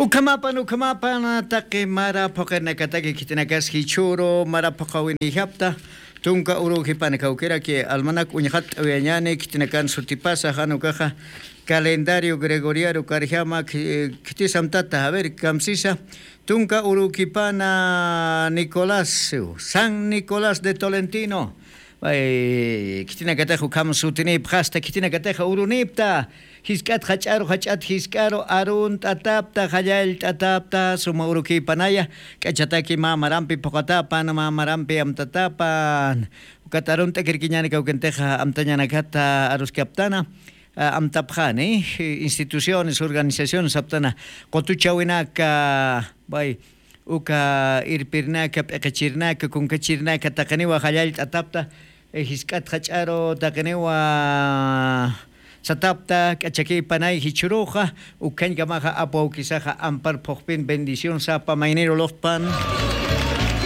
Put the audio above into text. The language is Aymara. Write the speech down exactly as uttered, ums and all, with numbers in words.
Ukhamapan ukhamapan taqi mara phuqirnakataki khitinakas jichhuru mara phuqawiniyjapta. Tunka urukipana kawkiraki almanak uñxat t'awiyañani khitinakan sutipasa jan ukaxa calendario gregoriano karjama. Khitisamtata a ver kamsisa. Tunka urukipana nicolás, san nicolás de tolentino. Khitinakataxa ukham sutinipxasta khitinakataxa urunipta. Jisk'at jach'aru jach'at jisk'aru arunt'atapta jallallt'atapta suma urukipanaya. K'achataki mä marampi phuqatapan mä marampi amtatapan. Ukat arunt'akirkiñani kawkintixa amtañanakata aruskaptana. Amtapxani instituciones organizaciones aptana qutuchawinaka. Bay uka irpirnaka p'iqichirnaka kunkachirnaka taqiniwa jallallt'atapta. Jisk'at jach'aru taqiniwa satapta k'achakipanay jichhuruxa. Ukhañkamaxa apwawkisaxa ampar phuqpin bendición sapa mayniru luqpan.